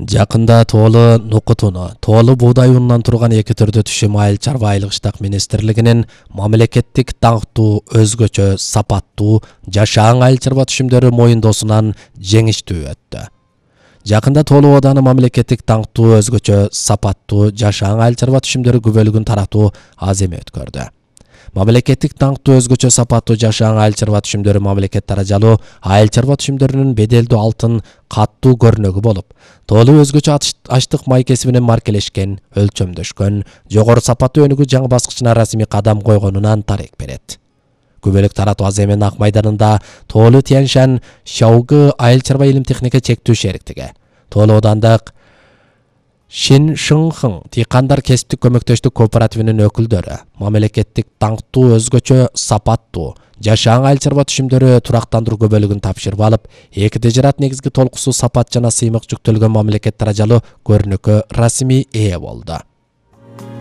Жакында тоолу нукутуну, тоолу буудай унунан турган эки түрдүү түшүм айыл чарба айылыштак министрлигинин мамлекеттик даңктуу, өзгөчө сапаттуу жашаан айыл чарба түшүмдөрү моюндоосунан жеңиштүү өттү. Жакында тоолу ооданы мамлекеттик даңктуу, өзгөчө сапаттуу жашаан айыл чарба түшүмдөрү күбөлүгүн таратуу аземи өткөрдү. Мамлекеттик даңктуу, өзгөчө сапаттуу жашаан айыл чарба түшүмдөрү мамлекет даражалуу айыл чарба түшүмдөрүнүн беделдүү алтын каттуу көрнөгү болуп, тоолу өзгөчө ачтык май кесибинен маркелешкен, өлчөмдөшкөн, жогору сапаттуу өнүгүү жаңы баскычына расмий кадам койгонунан дарек берет. Күбөлүк таратуу аземинин ак майданында тоолу Тяньшань Шаогы айыл чарба илим техника чектүү шериктиги, тоолу оодандык Шиншынхың дыйкандар кесиптик көмөктөштүк кооперативинин өкүлдөрү мамлекеттик даңктуу, өзгөчө сапаттуу жашаан айыл чарба түшүмдөрү турактандыруу көбөлүгүн тапшырып алып, эки тежерат негизги толкусу сапат жана сыймык жүктөлгөн мамлекет даражалуу көрнөккө расмий ээ болду.